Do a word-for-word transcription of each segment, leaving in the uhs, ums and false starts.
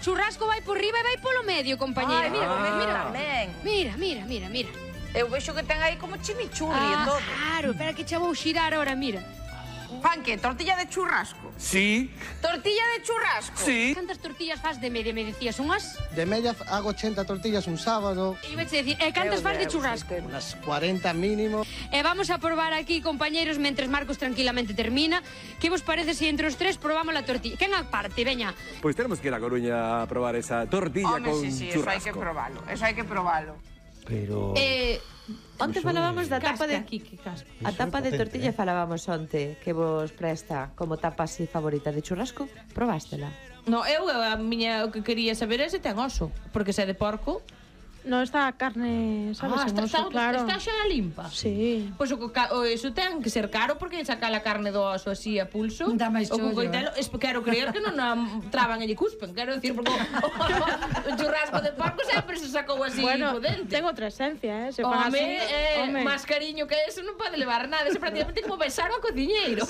churrasco vai por riba e vai polo medio, compañera. Ai, mira, Mira, mira, mira. tamén. Mira, mira, mira, mira. Eu vexo que ten aí como chimichurri e Ah, todo. claro, espera que che vou xirar ahora, mira. Fan que? Tortilla de churrasco? Sí, Tortilla de churrasco? sí. Cantas tortillas fas de media, me decías, unhas? De media hago ochenta tortillas un sábado, Iba a decir, e cantas fas de churrasco? unas cuarenta mínimo. E vamos a probar aquí, compañeros, mentres Marcos tranquilamente termina. Que vos parece se entre os tres probamos la tortilla? Quen aparte, veña? Pues tenemos que ir a Coruña a probar esa tortilla Home, con sí, sí, eso hai churrasco. que probalo. Eso hai que probalo. Pero... Eh, onte falábamos da tapa de... Casca, Kiki, casca. A Iso é tapa de potente, tortilla eh. falábamos onte, que vos presta como tapa así favorita de churrasco. Probástela? No, eu a miña o que quería saber é se ten oso, porque se é de porco. No, está a carne, sabes, Ah, en está, oso, está, claro. está xa limpa. Sí. Pois o, ca- o eso ten que ser caro porque sacar a carne do oso así a pulso. Dá máis o co chollo, coitelo, es, quero creer que non a traban e lle cuspen, quero decir, porque o, o churrasco de porco sempre se sacou así Bueno, potente. ten outra esencia, eh? Se fan Home, así, eh, home. máis cariño que eso non pode levar nada. Eso prácticamente como besar ao cociñeiro.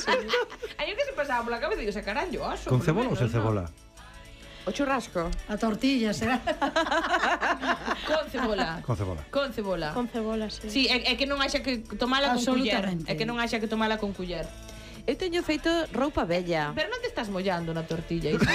Aí o que se pasaba pola cabeza, digo, sacarán yo oso. Con por lo cebola ou menos, sen ¿no? cebola? O churrasco? A tortilla, será? Con cebola. Con cebola. Con cebola. Con cebola, sí. Sí, é, é que non haxa que tomala con culler. Absolutamente. É que non haxa que tomala con culler. Eu teño feito roupa bella. Pero non te estás mollando na tortilla, Isa.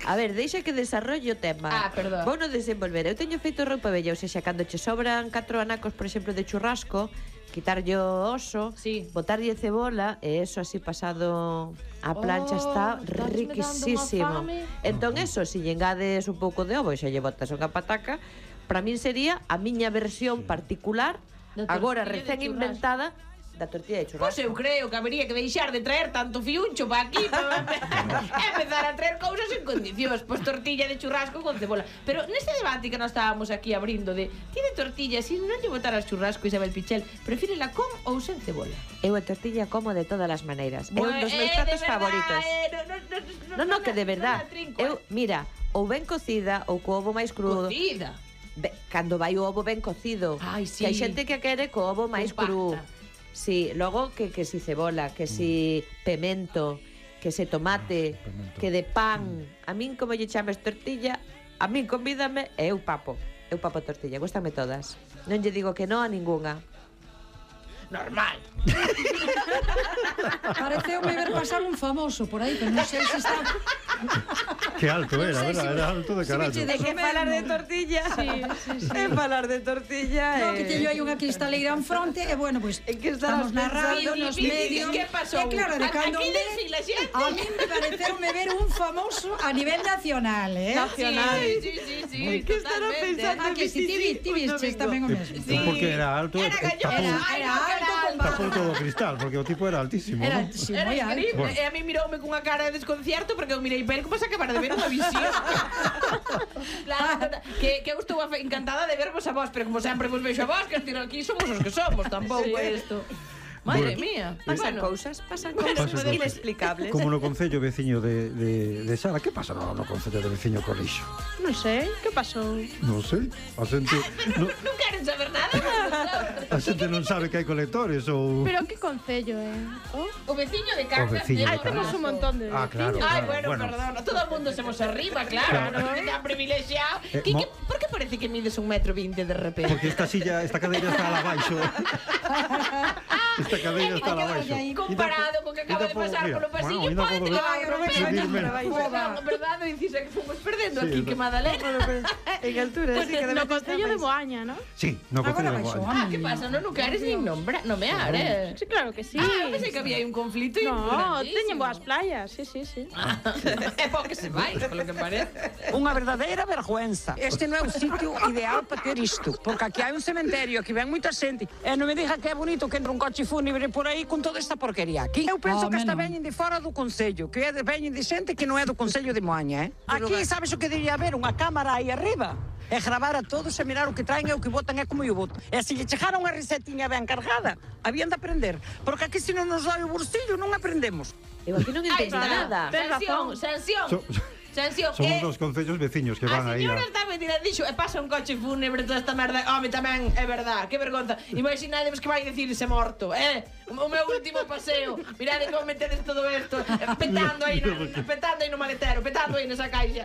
A ver, deixa que desarrolle o tema. Ah, perdón. Vou non desenvolver. Eu teño feito roupa bella, ou seja, cando che sobran catro anacos, por exemplo, de churrasco, quitarlle o oso, Sí. botarlle cebola, e eso así pasado a plancha Oh, está estácheme riquisísimo. dando unha fame. Entón eso, se lle engades un pouco de ovo e xa lle botas unha pataca, para min sería a miña versión particular, Da agora tortilla de recén churrasco. inventada, da tortilla de churrasco. Pois eu creo que habería que deixar de traer tanto fiuncho para aquí para empezar a traer cousas en condicións. Pois tortilla de churrasco con cebola. Pero neste debate que nós estábamos aquí abrindo de tiene tortilla, si non lle botaras churrasco, Isabel Pichel, prefírela con ou sen cebola? Eu a tortilla como de todas as maneiras. É un dos meus Eh, de pratos verdad, favoritos. eh, no, no, no, Non, non, que de verdad. non la trinco, Eu, eh. mira, ou ben cocida ou co ovo máis crudo. Cocida. Be- Cando vai o ovo ben cocido. Ai, sí. Que hai xente que quere co ovo máis cru. Compacta. Sí, logo que, que si cebola, que si pemento, que se tomate, Ah, pemento. que de pan. A min como lle chames tortilla, a min convídame e eu papo. Eu papo tortilla, gustame todas. Non lle digo que non a ningunha. Normal. Pareceume ver pasar un famoso por aí, pero non sei se está... Que alto era, sei verdad? se- Era alto de se me carallo. che É que Comemos. falar de tortilla. Sí, sí, sí. É falar de tortilla. No, eh. que teño aí unha cristaleira en fronte e, bueno, pois, É que estabas estamos na radio, pensando, nos Vivi, medios... que pasou? E claro, de A- cando aquí en vez, desfila xente. a mí me pareceume ver un famoso a nivel nacional, eh? Nacional. Sí, sí, sí, sí. Que estará totalmente. pensando? Ah, que si ti, vi- ti vistes tamén o mesmo. Sí. Porque era alto, Era e galloso. tapou, Era, era alto con tapou barba. todo o cristal, porque o tipo era altísimo, Era, ¿no? sí, Era moi alto. increíble. Bueno. E a mí miroume cunha cara de desconcierto porque eu mirei para ele como se acabara de ver unha visión. Claro, que, que eu estou afe- encantada de vervos a vos, pero como sempre vos vexo a vos, que estiro aquí somos os que somos, tampouco é isto. Madre Bueno. mía. Pasan Bueno. cousas, pasan Bueno, cousas Pasan inexplicables. Como no concello veciño de, de, de Sara. Que pasa no, no concello de veciño Corrixo? Non sei, que pasou? Non sei. A xente no, Non queren saber nada. a xente non sabe que hai colectores ou... Pero que concello, eh? Oh? O veciño de casa. O veciño de Ai, casa. temos un montón de Ah, claro, veciños. Ay, claro. bueno, Bueno. perdón, todo el mundo somos arriba, claro, Claro. ¿no? Tan privilegiado. Eh, ¿Qué- mo- qué- ¿Por qué parece que mides un metro veinte de repente? Porque esta silla, esta cadeira está al abaixo. Esta cadeira está al abaixo. Comparado con que acaba de pasar polo pasillo, ainda pode podo que vai subirme. Non, verdade, dices que fomos perdendo Sí, aquí, no. que Madalena. En altura, sí, que No concello de Boaña, ¿no? Sí, no concello Agora de baixo, Boaña. Ah, que pasa? Non o queres nin nombra, nomear, eh? Sí, claro que sí. Ah, pensei que había aí un conflito No, importantísimo. teñen boas playas, sí, sí, sí. É po que se vai, polo que parece. Unha verdadeira vergüenza. Este non é o sitio ideal para ter isto, porque aquí hai un cementerio, aquí ven moita xente, e non me diga que é bonito que entra un coche fúnebre por aí con toda esta porquería aquí. Eu penso Oh, que esta menos. veñen de fora do Concello, que é de, veñen de xente que non é do Concello de Moaña, eh? Aquí, sabes o que debería haber? Unha cámara aí arriba. E gravar a todos e mirar o que traen e o que botan é como eu boto. E se lle chegara unha recetinha ben cargada, habían de aprender. Porque aquí se non nos dói o bolsillo non aprendemos. Eu aquí non Aí entendo está. nada. Ten Sanción, razón. sanción. So- Sanción. Son Eh, dos concellos veciños que van A aí señora a... está metida, dixo, e pasa un coche fúnebre toda esta merda. Home, tamén, é verdad, que vergonza. Imaginadevos que vai dicirse morto, eh? O meu último paseo. Mirade como metedes todo isto, eh, petando aí, na, petando aí no maletero, petando aí nesa caixa.